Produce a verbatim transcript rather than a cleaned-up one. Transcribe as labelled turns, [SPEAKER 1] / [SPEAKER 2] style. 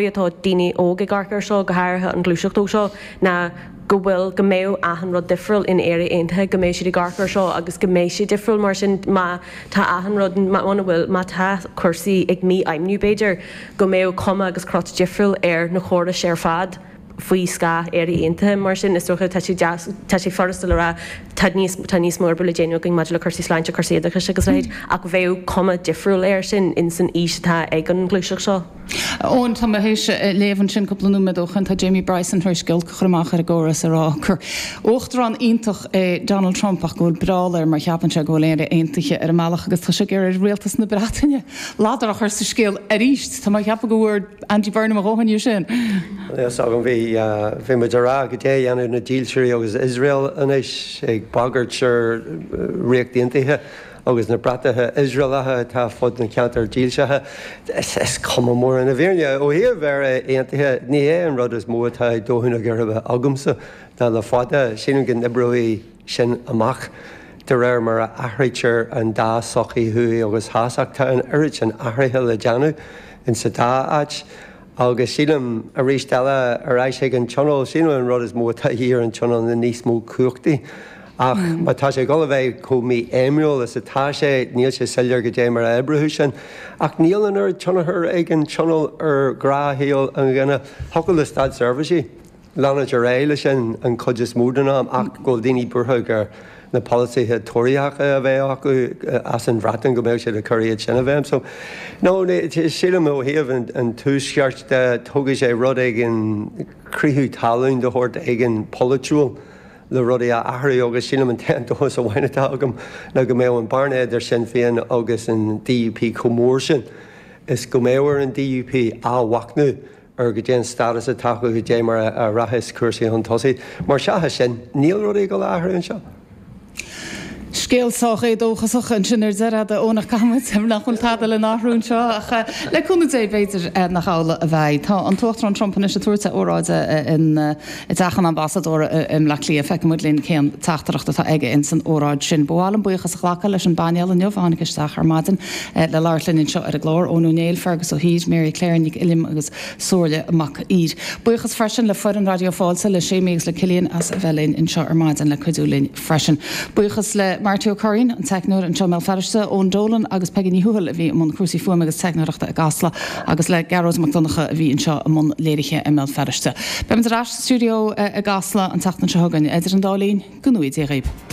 [SPEAKER 1] atá daoine óga ag amharc air seo, go háirithe an ghluaiseacht óg seo, ná go bhfuil go mbeidh achan rud difriúil in Éire Aontaithe, go mbeidh siad ag amharc air seo agus go mbeidh sé difriúil mar sin má tá achan rud muna bhfuil má tá cúrsaí ag mífheidhmiú b'fhéidir go mbeidh cuma agus crot difriúil ar na córais ar fad faoi scáth Éire Aontaithe mar sin is dócha tá sé deas tá sé furasta le rá tá níos tá níos mó oibre le déanamh againn maidir le cúrsaí sláinte cúrsaí oideachais agus leithéid ach bheadh cuma difriúil air sin in san fhís atá ag an ngluaiseacht seo.
[SPEAKER 2] Eoin tá mé théis léamh ansin cúpla nóiméad ó shin tá Jamie Bryson tar éis giolc a chur amach ar an gcóras ag rá gur uachtarán iontach é Donald Trump ach go bhfuil breall air mar cheapann sé go bhfuil Éire aontaithe ar an mbealach agus tá sé ag iarraidh rialtas na Breataine ladar a chur sa scéal arís Tá mé ag ceapadh go bhfuair Andy Burnham a dhóthain de sin.
[SPEAKER 3] Yes agam bhí bhí muid ag rá goidé a dhéanamh na dílseoirí agus Iosrael anois ag bagairt ar Ríocht Aontaithe agus na bratacha Iosraelacha atá fud na ceantar dílsithe. Is cuma mór na bhfírinne ó thaobh Éire Aontaithe ní hé an rud is mó atá ag dó na geirbe agamsa ná le fada sílim go n-oibreoidh sin amach de réir mar a athraítear an dá sochaí thuaidh agus theas ach tá an oiread sin athruithe le déanamh in sa dá áit. agus sílim arís eile ar ais ag an tionól sílim an rud is mó atá ar an tionól na níos mó cumhachtaí. Ach má tá sé ag dul a bheith chomh mífheidhmiúil is atá sé níl sé soiléir goidé mar a oibreoidh sin. Ach níl an oiread tionchar ag an tionól ar ghnáthshaol an duine thiocfadh le státseirbhísigh. Leanúint ar aghaidh leis sin an chuid is mó den am ach go bhfuil daoine buartha gur na polasaithe Tóraíocha a bheith acu as an Bhreatain go mbeadh siad ag cur iad sin a bheith. So no sílim ó thaobh an tuaisceart de tógfaidh sé rud éigin critheadh talún de shórt éigin polaitiúil le rudaí a athrú agus sílim an t-aon dóchas amháin atá agam ná go mbeadh an bearna idir Sinn Féin agus an DUP chomh mór sin is go mbeadh ar an DUP athmhachnamh ar goidé an stádas atá acu goidé mar a rachas cúrsaí chun tosaigh. Mar seachas sin níl rudaí ag dul a athrú anseo.
[SPEAKER 2] Scéal sách éadóchasach ansin ar deireadh ónach caithfidh nach bhfuil tada le n-athrú anseo ach le cúnamh Dé b'fhéidir nach amhlaidh a bheidh. Tá an tUachtarán Trump anois ag tabhairt óráide in i dteach an ambasadóra i mBleá Cliath feicfimid linn cén teachtaireacht atá aige in san óráid sin. Ba mhaith liom buíochas a ghlacadh leis an bpainéal inniu tháinig isteach ar maidin le labhairt linn anseo ar an gclár Eoin Ó Néill Fergus Ó hÍr, Mary Claire Nic Uilliam agus Somhairle Mac Ír. Buíochas freisin le foireann Raidió Fáilte le Séimí agus le Cillian as a bheith linn anseo ar maidin le cuidiú linn freisin. Buíochas le Marty O'Currin an teicneoir anseo i mBéal Feirste Eoin Dolan agus Peggy Ní Thuathail a bhí i mbun cúrsaí fuaime agus teicneoireachta i gCasla agus le Gearóid Mac Donncha a bhí anseo i mbun léirithe i mBéal Feirste. Beimid ar ais sa stiúideo i gCasla an tseachtain seo chugainn idir an dá linn go ngnóthaí Dé dhaoibh.